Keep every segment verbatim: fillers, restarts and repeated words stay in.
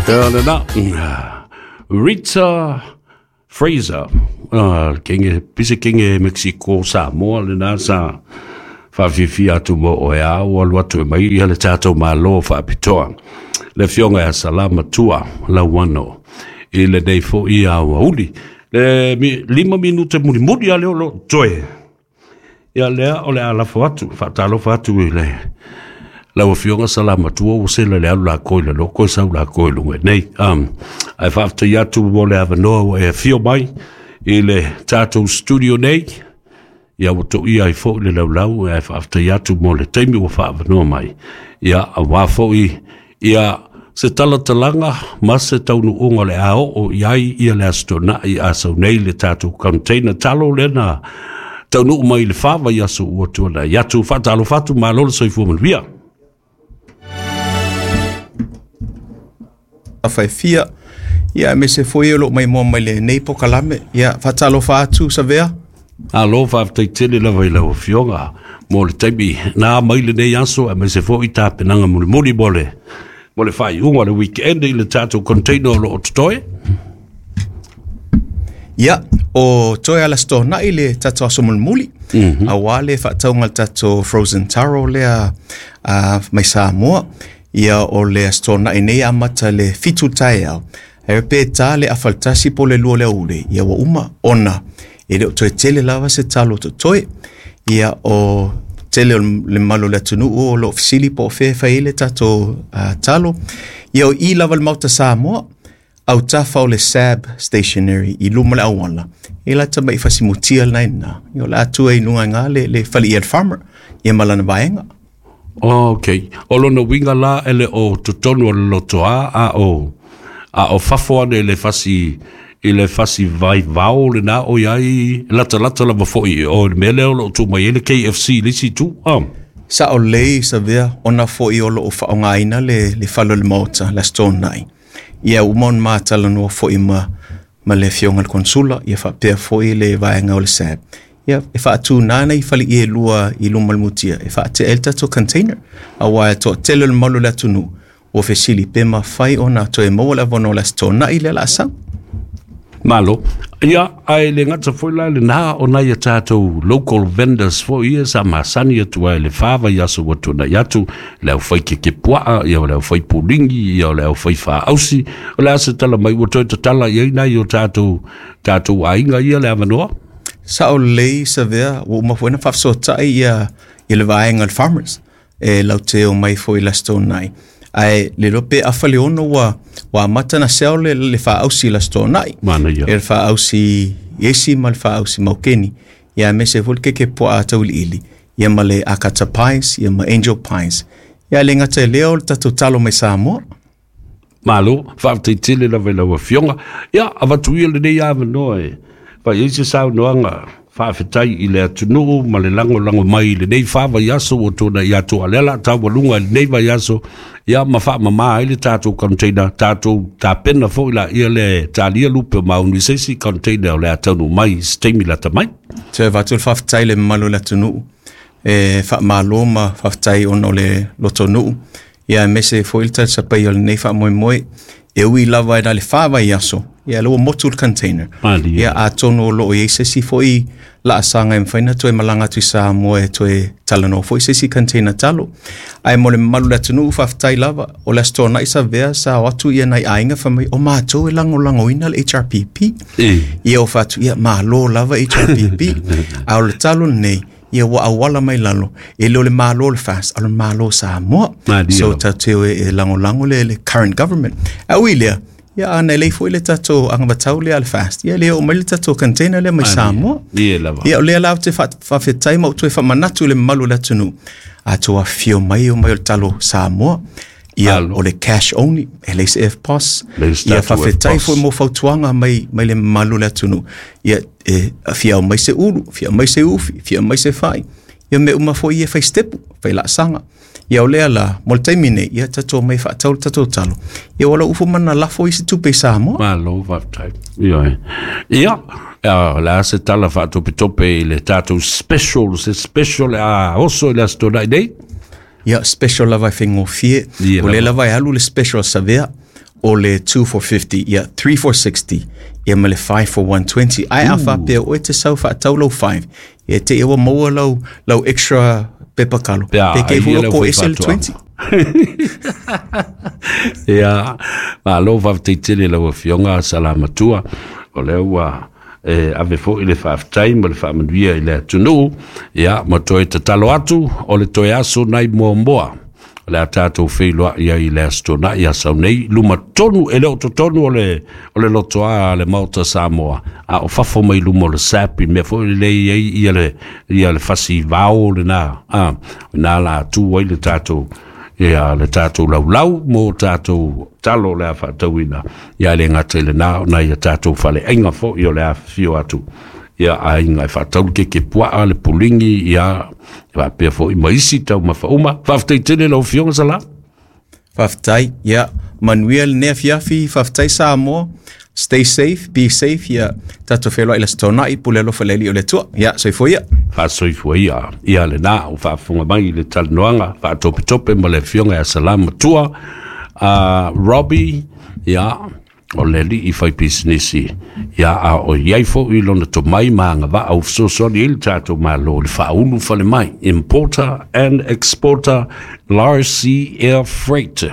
Lena Rita Fraser, uh, kenge pise kenge Mexico Samoa lena sa whawhiwhi atu mo o ea o alu atu e mai ia le tātou malo whaapitoa. Le fionga ia salama tua lauano i le nei fo ia ua uli. Le mi, lima minute muri muri a leo lo toe. Ia lea o le alafo atu, whaatalofa atu i le lau afioga salama tua ua sela le alu lakou i le loko e sau lakou i luga nei. Um, ae faafetai atu mo le avanoa ua e afio mai i le tatou studio nei. Ia ua toia ai foʻi le laulau ae faafetai atu mo le taimi ua faaavanoa mai. Ia auā foʻi ia se talatalaga ma se taunuuga o le a oo i ai ia le Aso Toonai a sau nei le tatou container talo lena taunuu mai i le fa vaiaso ua tuanai atu. Faatalofa atu, malo le soifua manuia. Afaifia ia mese foi o lo mai mo mai le nei pokalame ia faatalofa atu Savea. Alo, faafetai tele lava i lau afioga mo le taimi na mai lenei aso aemaise foʻi tapenaga mulimuli mo le mo le faaiuga o le weekend i le tatou container o loo totoe. Ia o toe ala stonaʻi le tatou aso mulimuli mm -hmm. auā le faatauga le tatou frozen taro lea uh, mai Samoa. Ia o le Aso Toonai nei amata le fitu taeao ae pe tā le afa le tasi po le lua le aoauli ia ua uma ona e le o toe tele lava se talo totoe. Ia o tele o le mamalu o le atunuu o loo fesili po o fea e fai ai le tatou uh, talo. Ia o i lava le Maota Samoa autafa o le S A B Stationery i luma le auala e la tamaʻi fasimutia lena ina ia o le atua i luga iga le, le faleia le farmer ia ma lana vaega. Ok, o lona uiga la e le o totonu o le lotoā a o a o fafo ane i le fasi i le fasi vaivao lena o iai latalata lava foʻi o le mea lea o loo tuu mai ai le K F C i le isi itu ah. Saʻo lelei Savea ona foʻi o loo faaaogāina le, le fale o le maota le Aso Toonai. Ia uma ona matalanoa foʻi ma ma le afioga le konsula ia faapea foʻi le vaega o le S A B ia e faatūnā nei faleie lua i luma le mutia e faatea ai le tatou container auā e toatele o le mamalu o le atunuu ua fesili pe mafai ona toe maua le avanoa o le Aso Toonai lea la sau. Malo. Ia, ae le gata foi la lenā o nai a tatou local vendors foi ia sa masani atu ai le fa vaiaso ua tuanai atu, le aufai kekepuaa, ia o le aufai pulingi, ia o le aufai faausi. O le a se tala mai ua toe tatala i ai nai o tatou, tatou aiga ia le avanoa? Saʻo lelei Savea ua uma foi na faafesoataʻi ia ia le vaega o le farmers e laute o mai foi le Aso Toonai ae le iloa pe afa le ono ua ua amata na sell le, le faausi le Aso Toonai. Manaia. E le faausi iesi ma le faausi maukeni ia aemaise foi le keke puaa tauiliili ia ma le akata pies ia ma angel pies ia le gata i lea o le tatou talo mai Samoa. Malo, faafetai tele lava i lau afioga. Ia, avatu ia lenei avanoa e fai ai se saunoaga faafetai i le atunuu ma le lagolago mai i lenei fa vaiaso ua tuanai atu a lea la taualuga i lenei vaiaso ia ma faamamā ai le tatou container tatou tapena foʻi laia le talia lupe o maunu i se isi container o le a taunuu mai i se taimi lata mai. Toe avatu le faafetai le mamalu o le atunuu e faamālō ma faafetai ona o le lotonuu ia aemaise foi le talisapaia o lenei faamoemoe e ui lava e na le fa vaiaso ia le ua motu le container. Malie. Ia atonu o loo i ai se isi foʻi laasaga e mafai na toe malaga atu i Samoa e toe talanoa foʻi se isi container talo ae mo le mamalu le atunuu faafetai lava o le Aso Toonai Savea sa o atu ia nai aiga fai mai o matou e lagolagoina le H R P P. E. Ia o faatu ia malo lava H R P P a o le talo lenei ia ua auala mai lalo e le o le malo le F A S a o le malo Samoa. Malie So lava. tatou e, e lagolago le, le current government a ui lea ia ana lei foi le tatou agavatau lea a le F A S ia le oo mai le tatou container lea mai Samoa. Ie lava. Ia o lea la ou te fa- faafetai ma ou toe faamanatu i le mamalu o le atunuu atou afifio mai o mai o le talo Samoa ia Alo. o le cash only e leai se E F P O S. Leai se Ia tatou faafetai E F P O S. foi mo fautuaga mai mai le mamalu o le atunuu ia e fia mai se ulu fia mai se ufi fia mai se fai ia mea uma foi ia fai stepu fai laasaga ia o lea la mo le taimi nei ia tatou mai faatau le tatou talo ia ua lau ufu mana lafo i se tupe i Samoa. Malo, faafetai. Ia, ia, ia, le a se tala faatopetope i le tatou special, se special a oso i le Aso Toonai nei? Ia special lava e faigofie Ia o lea lava. Lava e alu le special Savea O le two for fifty, ia, three for sixty, ia ma le five for one twenty. Ae a faapea oe te sau faatau lau five, ia te ia ua maua lau, lau extra pepa kalo. Pe a, Pe kei ai fua ia lau ko fai ese le faatoaga. twenty. Ia, malo faafetai tele lau afioga Salamatua, o lea ua e ave fo'i le faafetai ma le faamanuia i le atunuu. Ia, ma toe tatalo atu o le toe aso nai muamua o le a tatou feiloa'i ai i le aso Tona'i asau nei luma tonu e le o totonu o le o le lotoā a le Maota Samoa, a o fafo mai luma o le S A P i mea fo'i lelei ai ia le ia le fasi vao lenā a na la atu ai le tatou ia le tatou laulau mo tatou talo o le a faatauina. Ia le gata i lenā ona ia tatou faleaiga fo'i o le afifio atu ia aiga e faatau le keke puaa le puligi ia faapea fo'i ma isi taumafa uma. Faafetai tele lau afioga Sala. Faafetai, ia, manuia lenei afiafi, faafetai Samoa. Stay safe, be safe, ia, tatou feiloai i le Aso Toonai, pule alofa le Alii o le Atua. Ia, soifua ia. Faasoifua ia. Ia lenā o faafofoga mai i le talanoaga faatopetope ma le afioga ia Salamatua uh, Robbie, ia o le alii fai pisinisi, ia a o iai fo'i lona tomai ma agavaa ua fesoasoani ai le tatou Malo le faaulu fale mai, importer and exporter Larcy Air Freight,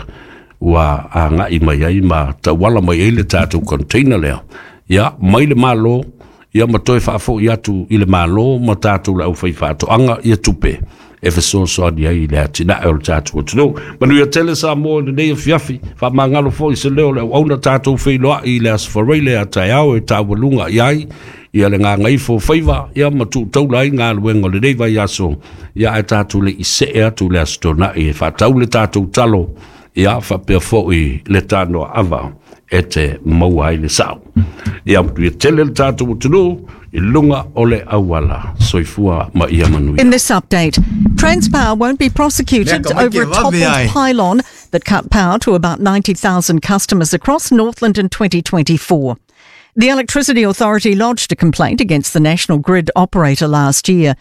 ua aga'i mai ai ma tauala mai ai le tatou container lea ia mai le Malo ia ma toe faafo'i atu i le Malo ma tatou le aufai faatoaga ia tupe e fesoasoani ai i le atinae o le tatou atunuu. Manuia tele Samoa i lenei afiafi, faamagalo fo'i se leo le auauna. Tatou feiloa'i i le Aso Faraile a taeao e taualuga i ai ia le gagaifo faiva ia ma tuutaula ai galuega o lenei vaiaso. Ia ae tatou le i see atu le Aso Tona'i e faatau le tatou talo ia faapea fo'i le tanoa ava e te maua ai le sa'o. Ia manuia tele le tatou atunuu i luga o le auala. Soifua ma ia manuia. In this update, Transpower won't be prosecuted over a toppled pylon that cut power to about ninety thousand customers across Northland in twenty twenty-four. The Electricity Authority lodged a complaint against the national grid operator last year.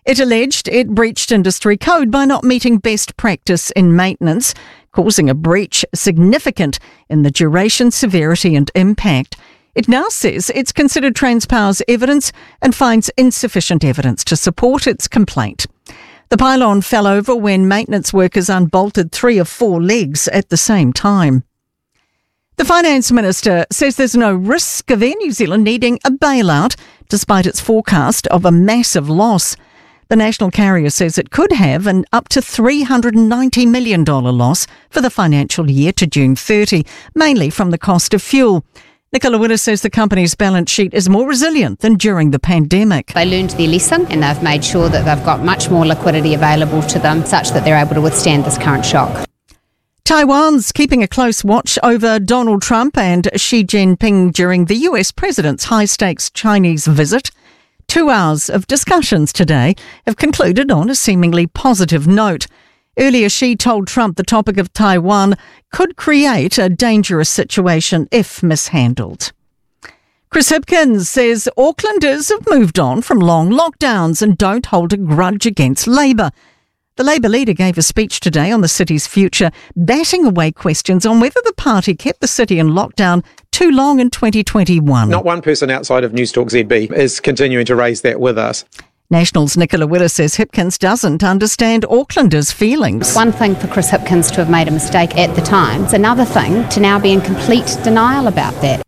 It alleged it breached industry code by not meeting best practice in maintenance, causing a breach significant in the duration, severity, and impact. It now says it's considered Transpower's evidence and finds insufficient evidence to support its complaint. The pylon fell over when maintenance workers unbolted three of four legs at the same time. The Finance Minister says there's no risk of Air New Zealand needing a bailout, despite its forecast of a massive loss. The national carrier says it could have an up to three hundred ninety million dollars loss for the financial year to June thirty, mainly from the cost of fuel. Nicola Willis says the company's balance sheet is more resilient than during the pandemic. They learned their lesson and they've made sure that they've got much more liquidity available to them such that they're able to withstand this current shock. Taiwan's keeping a close watch over Donald Trump and Xi Jinping during the U S president's high stakes Chinese visit. Two hours of discussions today have concluded on a seemingly positive note. Earlier, Xi told Trump the topic of Taiwan could create a dangerous situation if mishandled. Chris Hipkins says Aucklanders have moved on from long lockdowns and don't hold a grudge against Labour. The Labour leader gave a speech today on the city's future, batting away questions on whether the party kept the city in lockdown too long in twenty twenty-one. Not one person outside of Newstalk Z B is continuing to raise that with us. Nationals' Nicola Willis says Hipkins doesn't understand Aucklanders' feelings. One thing for Chris Hipkins to have made a mistake at the time. It's another thing to now be in complete denial about that.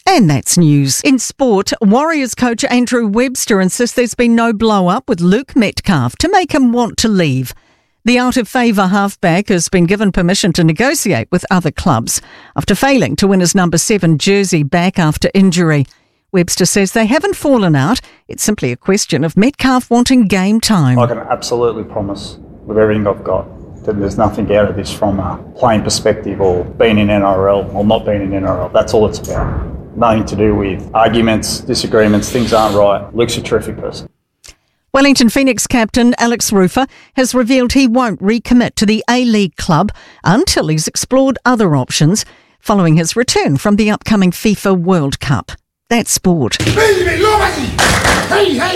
And that's news. In sport, Warriors coach Andrew Webster insists there's been no blow up with Luke Metcalf to make him want to leave. The out of favour halfback has been given permission to negotiate with other clubs after failing to win his number seven jersey back after injury. Webster says they haven't fallen out. It's simply a question of Metcalf wanting game time. I can absolutely promise with everything I've got that there's nothing out of this from a playing perspective or being in N R L or not being in N R L. That's all it's about. Nothing to do with arguments, disagreements, things aren't right. Luke's a terrific person. Wellington Phoenix captain Alex Rufer has revealed he won't recommit to the A League club until he's explored other options following his return from the upcoming FIFA World Cup. That's sport. Hey, hey.